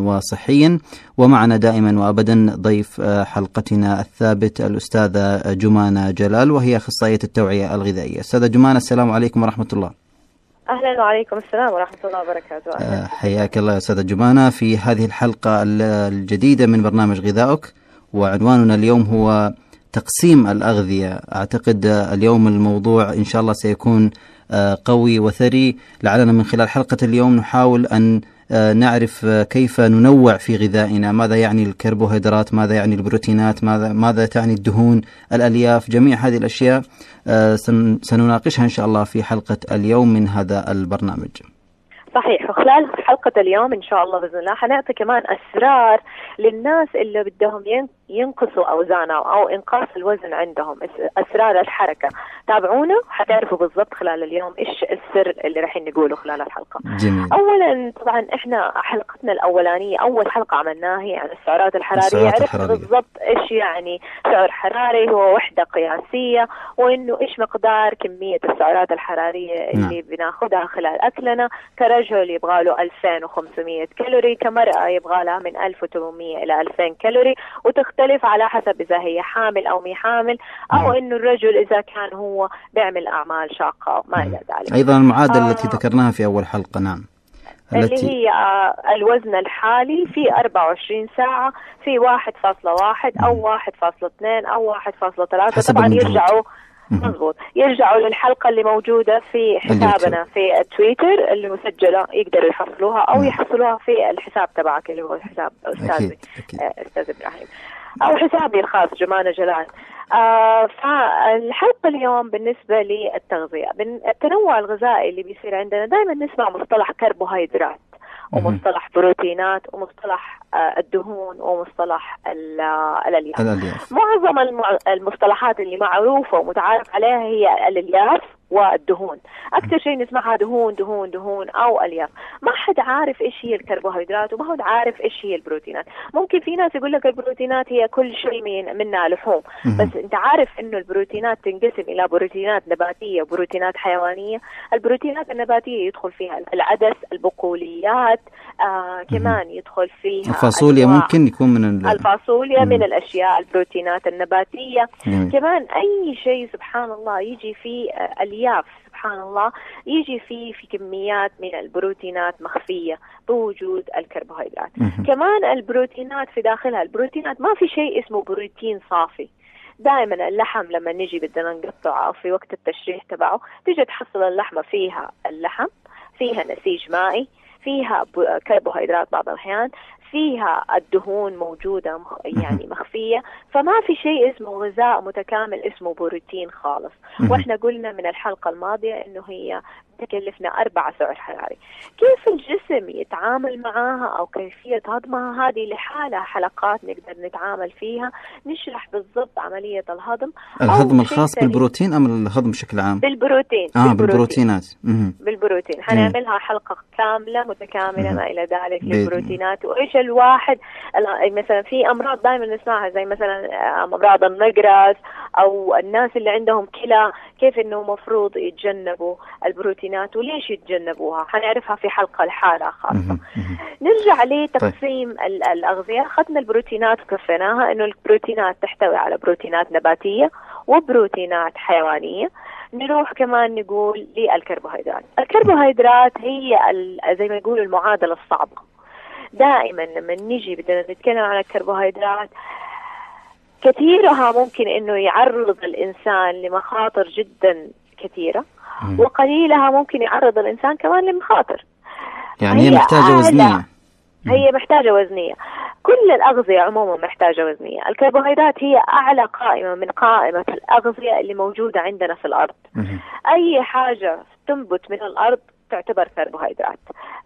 وصحيا. ومعنا دائما وأبدا ضيف حلقتنا الثابت الأستاذة جمانة جلال، وهي أخصائية التوعية الغذائية. أستاذة جمانة، السلام عليكم ورحمة الله. أهلا وعليكم السلام ورحمة الله وبركاته. حياك الله أستاذة جمانة في هذه الحلقة الجديدة من برنامج غذائك، وعنواننا اليوم هو تقسيم الأغذية. أعتقد اليوم الموضوع إن شاء الله سيكون قوي وثري، لعلنا من خلال حلقة اليوم نحاول أن نعرف كيف ننوع في غذائنا، ماذا يعني الكربوهيدرات، ماذا يعني البروتينات، ماذا تعني الدهون، الألياف، جميع هذه الأشياء سنناقشها إن شاء الله في حلقة اليوم من هذا البرنامج. صحيح. وخلال حلقة اليوم إن شاء الله بإذن الله حنعطي كمان أسرار للناس اللي بدهم ينقصوا أوزانهم أو إنقاص الوزن عندهم، أسرار الحركة. تابعونا حتعرفوا بالضبط خلال اليوم إيش السر اللي رايحين نقوله خلال الحلقة. جميل. أولا طبعا إحنا حلقتنا الأولانية أول حلقة عملناها هي عن السعرات الحرارية. عرفنا بالضبط إيش يعني سعر حراري، هو وحدة قياسية، وإنه إيش مقدار كمية السعرات الحرارية اللي بناخدها خلال أكلنا. كرجل يبغى له 2500 كالوري، كمرأة يبغى لها من 1800 إلى 2000 كالوري، وتختلف على حسب إذا هي حامل أو مي حامل، أو إنه الرجل إذا كان هو بيعمل أعمال شاقة ما إلى ذلك. أيضا المعادلة التي ذكرناها في أول حلقة، نعم، اللي هي الوزن الحالي في 24 ساعة في 1.1 أو 1.2 أو 1.3. طبعا يرجعوا مضبوط، يرجعوا للحلقة اللي موجودة في حسابنا في التويتر اللي مسجلة، يقدروا يحصلوها أو يحصلوها في الحساب تبعك اللي هو حساب أستاذ إبراهيم أو حسابي الخاص جمانة جلال. فالحلقة اليوم بالنسبة للتغذية، التنوع الغذائي اللي بيصير عندنا دائما نسمع مصطلح كربوهيدرات ومصطلح بروتينات ومصطلح الدهون ومصطلح الألياف. معظم المصطلحات اللي معروفة ومتعارف عليها هي الألياف والدهون. أكثر شيء نسمعها دهون دهون دهون أو ألياف. ما حد عارف إيش هي الكربوهيدرات وما حد عارف إيش هي البروتينات. ممكن في ناس يقول لك البروتينات هي كل شيء منها لحوم، بس أنت عارف إنه البروتينات تنقسم إلى بروتينات نباتية وبروتينات حيوانية. البروتينات النباتية يدخل فيها العدس، البقوليات، كمان يدخل فيها الفاصوليا، ممكن يكون من الفاصوليا من الأشياء البروتينات النباتية. كمان أي شيء سبحان الله يجي فيه الياف، سبحان الله يجي فيه في كميات من البروتينات مخفية بوجود الكربوهيدرات. كمان البروتينات في داخلها، البروتينات ما في شيء اسمه بروتين صافي. دائما اللحم لما نجي بدنا نقطعه في وقت التشريح تبعه تيجي تحصل اللحمة فيها اللحم، فيها نسيج مائي، فيها كربوهيدرات بعض الأحيان، فيها الدهون موجودة يعني مخفية. فما في شيء اسمه غذاء متكامل اسمه بروتين خالص. وإحنا قلنا من الحلقة الماضية إنه هي تكلفنا 4 سعر حراري. كيف الجسم يتعامل معاها أو كيفية هضمها هذه لحالها حلقات نقدر نتعامل فيها، نشرح بالضبط عملية الهضم الخاص بالبروتين أم الهضم بشكل عام؟ بالبروتين. بالبروتينات. بالبروتين حنعملها حلقة كاملة متكاملة ما إلى ذلك للبروتينات. وإيش الواحد مثلا في أمراض دائما نسمعها زي مثلا أمراض النقرس أو الناس اللي عندهم كلى، كيف إنه مفروض يتجنبوا البروتينات وليش يتجنبوها حنعرفها في حلقة الحالة خاصة. نرجع لتقسيم الأغذية. أخذنا البروتينات وكفيناها إنه البروتينات تحتوي على بروتينات نباتية وبروتينات حيوانية. نروح كمان نقول للكربوهيدرات. الكربوهيدرات هي زي ما يقولوا المعادلة الصعبة. دائما لما نيجي بدنا نتكلم عن الكربوهيدرات كثيرها ممكن إنه يعرض الإنسان لمخاطر جدا كثيرة، وقليلها ممكن يعرض الإنسان كمان لمخاطر. يعني هي محتاجة وزنية. هي محتاجة وزنية. كل الأغذية عموما محتاجة وزنية. الكربوهيدرات هي أعلى قائمة من قائمة الأغذية اللي موجودة عندنا في الأرض. أي حاجة تنبت من الأرض تعتبر كربوهيدرات.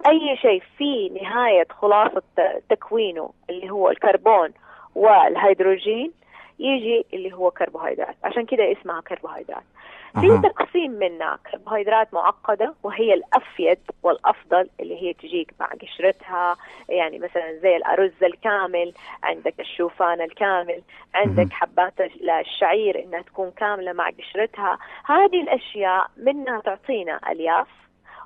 أي شيء في نهاية خلاصة تكوينه اللي هو الكربون والهيدروجين يجي اللي هو كربوهيدرات، عشان كده اسمها كربوهيدرات. في تقسيم منها كربوهيدرات معقدة وهي الأفيد والأفضل اللي هي تجيك مع قشرتها، يعني مثلا زي الأرز الكامل، عندك الشوفان الكامل، عندك حبات الشعير إنها تكون كاملة مع قشرتها. هذه الأشياء منها تعطينا ألياف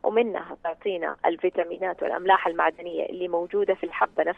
ومنها تعطينا الفيتامينات والأملاح المعدنية اللي موجودة في الحبة نفسها.